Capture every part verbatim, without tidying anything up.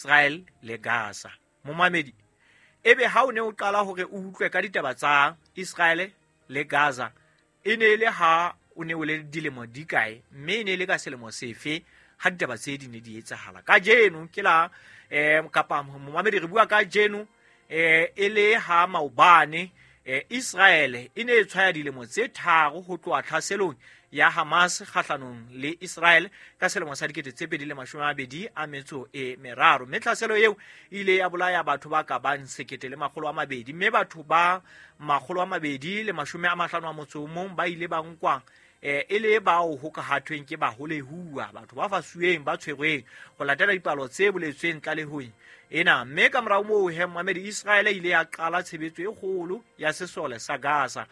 Israel le Gaza. Momamedi, ebe ha o ne o qala hore o utlwe ka ditaba tsa Israel le Gaza, e ne e le ha o ne o le dilemo di kae, mme e ne e le ka selemo sefe ha ditaba tse di ne di etsahala? Kajeno ke la eh kapa momamedi re bua kajeno eh e le ha maobane eh Israel e ne e tshwaya dilemo tse tharo ho tloha tlhaselong ya Hamas kgahlanong le Israel ka selemo sa dikete tse pedi le mashome a mabedi a metso e meraro. Mme tlhaselo eo e ile ya bolaya batho ba ka bang sekete le makgolo a mabedi, mme batho ba makgolo a mabedi le mashome a mahlano a motso o mong ba ile ba nkwa eh e le bao ho ka hathweng ke baholehuwa, batho ba fasuweng ba tshwerweng ho latela dipalo tse boletsweng tlalehong ena. Mme ka morao moo he momamedi, Israel e ile ya qala tshebetso e kgolo ya sesole sa Gaza,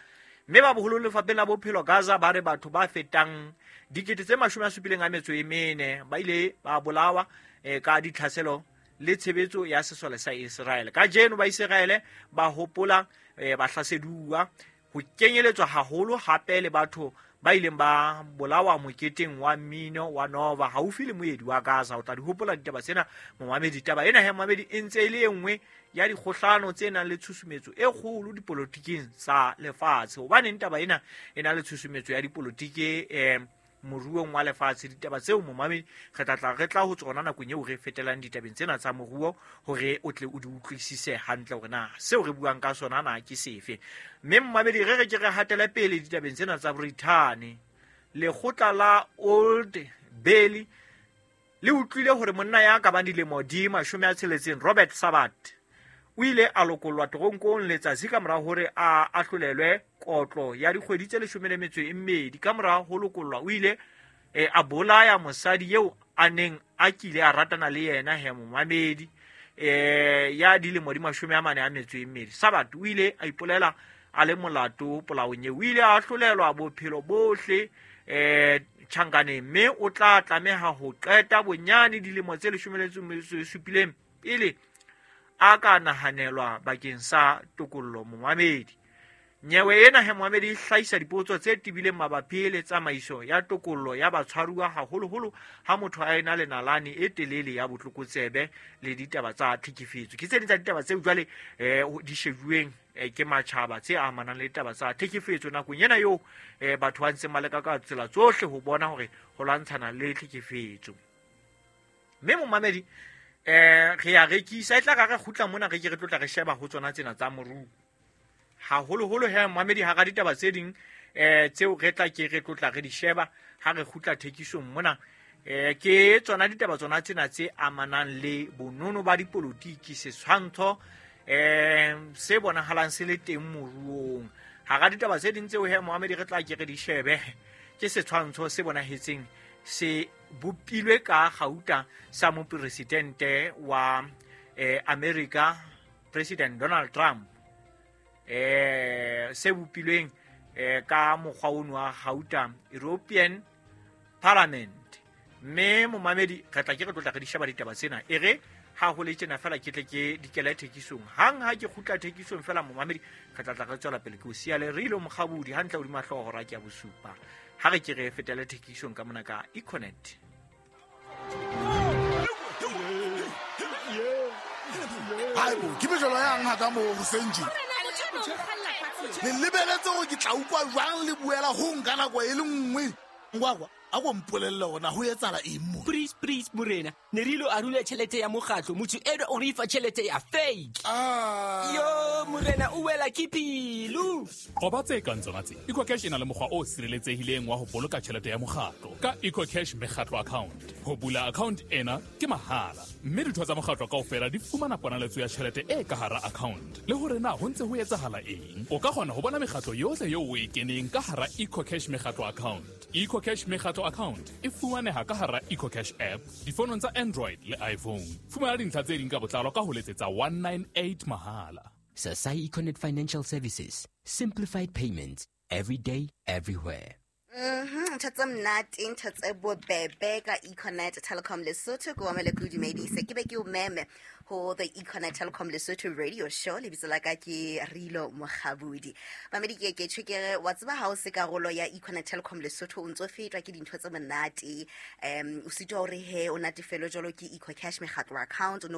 mme ba boholo lefapheng la bophelo Gaza ba re batho ba fetang dikete tse mashome a supileng a metso e mene ba ile ba bolawa eh, ka ditlhaselo le tshebetso ya sesole sa Israel. Kajeno ba Israel ba hopola eh, bahlaseduwa ho kenyeletswa haholo hape le batho ba ileng ba bolawa moketeng wa mmino wa Nova haufi le moedi wa Gaza. O tla di hopola ditaba tsena momamedi. Taba ena he momamedi e ntse e le e nngwe ya dikgohlano tse nang le tshusumetso e kgolo dipolotiking tsa lefatshe. Hobaneng taba ena e na le tshusumetso ya dipolotiki eh moruong wa lefatshe? Ditaba tseo momamedi re tla tla re tla ho tsona nakong eo re fetelang ditabeng tsena tsa moruo hore o tle o di utlwisise hantle hore na seo re buang ka sona na ke sefe. Mme momamedi re re ke re hatele pele ditabeng tsena tsa Brithani. Lekgotla la Old Bailey le utlwile hore monna ya ka bang dilemo di mashome a tsheletseng Robert Sabat o ile a lokollwa teronkong letsatsi ka mora hore a ahlolelwe kotlo ya dikgwedi tse leshome le metso e mmedi. Ka mora ho lokollwa o ile eh, a bolaya mosadi eo a neng a kile a ratana le yena he momamedi eh ya dilemo di mashome a mane a metso e mmedi. Sabat o ile a ipolela a le molato polaong eo. O ile a ahlolelwa bophelo bohle eh tjhankaneng, mme o tla tlameha ho qeta bonyane dilemo tse leshome le metso e supileng pele a ka nahanelwa bakeng sa tokollo momamedi. Nyewe ena he momamedi e hlahisa dipotso tse tebileng mabapi le tsamaiso ya tokollo ya batshwaruwa, haholoholo ha motho a ena le nalane e telele ya botlokotsebe le ditaba tsa tlhekefetso. Ke tse ding tsa ditaba tseo jwale eh di shejuweng eh, ke matjhaba tse amanang le ditaba tsa tlhekefetso nakong ena eo eh, batho ba ntseng ba leka ka tsela tsohle ho bona hore ho lwantshana le tlhekefetso. Mme momamedi eh re ya rekisa e tla ka re kgutla mona re ke re tlotla re sheba ho tsona tsena tsa moruo haholoholo he momamedi. Hara ditaba tse ding eh tseo re tla ke re tlotla re di sheba ha re kgutla thekisong mona eh ke tsona ditaba tsona tsena tse amanang le bonono ba dipolotiki, setshwantsho eh se bonahalang se le teng moruong. Hara ditaba tse ding tseo he momamedi re tla ke re di shebe ke setshwantsho se bonahetseng se bopilwe ka gauta sa mopresidente wa eh, America President Donald Trump eh se bopilweng eh, ka mokgwa ono wa gauta European Parliament. Mme momamedi re tla ke re tlotla re di sheba ditaba tsena e re ha ho le tjena fela ke tle ke dikele thekisong. Hang ha ke kgutla thekisong fela momamedi re tla tla re tswela pele. Ke o siya le re ile mokgabudi hantle hodima hlooho hora ke ya bosupa. Ha re ke re fetele thekisong ka mona ka Econet. Haibo, ke mejolo yang haka mo hoseng tje. Le lebeletse hore ke tla utlwa jwang le buela ho nka nako e le nngwe. Ngwakwa, a ko mpolelle hore na ho etsahala eng mo. Please, please, morena. Ne re ilo arula tjhelete ya mokgatlo, motho enwa o re fa tjhelete ya fake. Ah. Yo, morena o wela ke pelo. Qoba tse kang tsona tse. EcoCash e na le mokgwa o sireletsehileng wa ho boloka tjhelete ya mokgatlo ka EcoCash mekgatlo account. Ho bula account ena ke mahala, mme ditho tsa mokgatlo kaofela di fumana ponaletso ya tjhelete e ka hara account. Le hore na ho ntse ho etsahala eng. O ka kgona ho bona mekgatlo yohle eo o e keneng ka hara EcoCash mekgatlo account. EcoCash mekgatlo account e fumaneha ka hara EcoCash app difonong tsa Android le iPhone. Fumana dintlha tse ding ka botlalo ka ho letsetsa one nine eight mahala. Sasai Econet Financial Services. Simplified payments. Every day, everywhere. Mhm, ntho tse monate, ntho tse bobebe ka Econet Telecom Lesotho. Ke wamele ke o dumedise, ke be ke o meme ho the Econet Telecom Lesotho radio show. Lebitso la ka ke Rilo Mokgabudi. Mamedi, ke ke tjho ke re, wa tseba ha o se karolo ya Econet Telecom Lesotho, o ntso fetwa ke dintho tse monate. um o sitwa hore he o natefelwe jwalo ke EcoCash mekgatlo account o no.